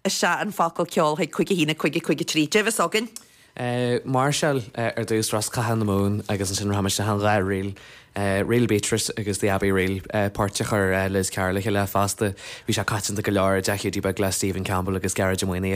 Isteach an focal ceol chuig 5 1 5 5 3. Cad é a bheas againn? Máirseáil ar dtús Roscatha na Mumhan agus ansin rachaimid isteach an dhá ríl, Ríl Beatrice agus The Abbey Reel, poirt a chuir Liz Carr le chéile fosta. Bhí sé coitianta go leor i dTeach Hiúdaí Beag le Stephen Campbell agus Gearóid Ó Maonaigh.